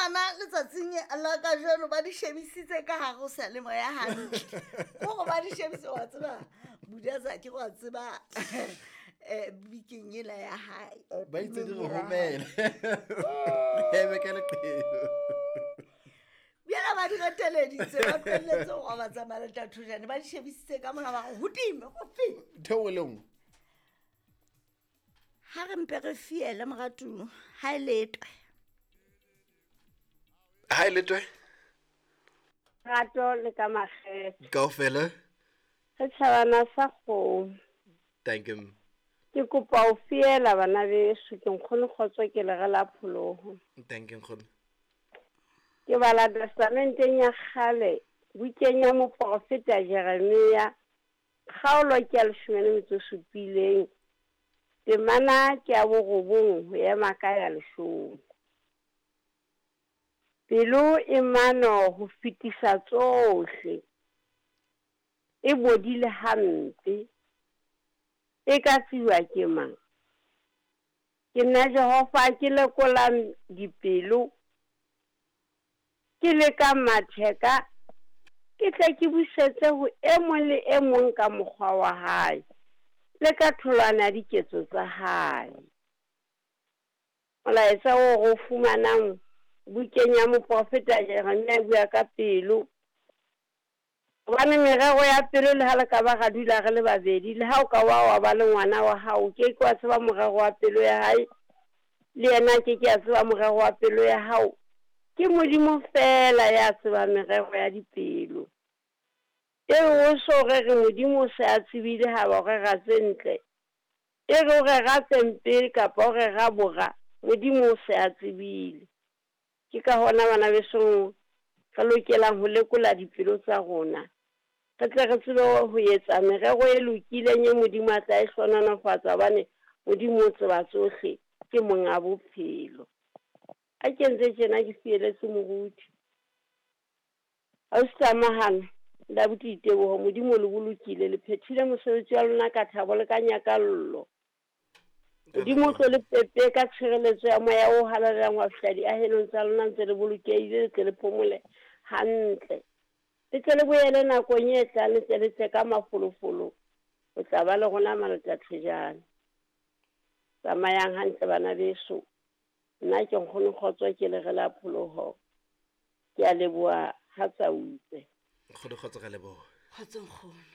bana letsatsing la kajeno ba di shebisitse ka gare go seyalemoya gantle kore ba di shebise wa tseba budaza ke go a tseba um bikeng ela ya gae Ba itse di re romele. Eme ka leqhelo. Bjela ba di reteleditse ba tlohelletse go ba tsamaya le tathojane ba di shebisitse ka mona ba go godimo go fe. Ntho e nngwe le nngwe. Ha re mpe re fiele moratuwa ha e letwe. Ha e letwe. Rato le ka makgethe. Kaofela. Setjhabana sa kgomo. Thank you. Ke kopa ho fiela bana beso ke nkgono kgotso ke le re la pholoho. Thank you nkgono. Ke bala testamenteng ya kgale bukeng ya moporofeta Jeremia kgaolo ke ya leshome le metso e supileng temana ke ya borobong ho ema ka ya leshome. Pelo e mano ho fetisa tsohle, e bodile hampe, e ka tsejwa ke mang? Ke nna Jehova ke lekolang dipelo, ke lekang matheka, ke tle ke busetse ho e mong le e mong ka mokgwa wa hae, le ka tholwana ya diketso tsa hae. Molaetsa oo re o fumanang bukeng ya moprofeta Jeremia e bua ka pelo. Hobane merero ya pelo le ha le ka ba ra dula re le babedi, le ha o ka wa wa ba le ngwana wa hao, o ke ke wa tseba morero wa pelo ya hae, le yena a ke ke a tseba morero wa pelo ya hao. Ke Modimo feela ya tsebang merero ya dipelo. E re o so rere Modimo o se a tsebile ha ba o rera tse ntle, e re o rera tse mpe kapa o rera bora, Modimo o se a tsebile. Ke ka hona bana besong re lokelang ho lekola dipelo tsa rona, re tle re tsebe ho etsa merero e lokileng e Modimo a tla e hlohonolofatsa, hobane Modimo o tseba tsohle, ke monga bophelo. Ha ke entse tjena ke fieletse moruti. Ausi Tlamahano le abuti Diteboho, Modimo o le bolokile, le phethile mosebetsi wa lona ka thabo le ka nyakallo. Modimo o tlo le pepe ka tshireletso ya moya o halalelang wa fihla diahelong tsa lona ntse le bolokehile, le tle le phomole hantle. Le tle le boele nakong e tlang, le tle le tle ka mafolofolo ho tla ba le rona Maletathejane. Tsamayang hantle bana beso. Nna ke nkgono Kgotso ke le re la pholoho. Ke a leboha ha tsa utse. Nkgono Kgotso ra leboha. Kgotso nkgono.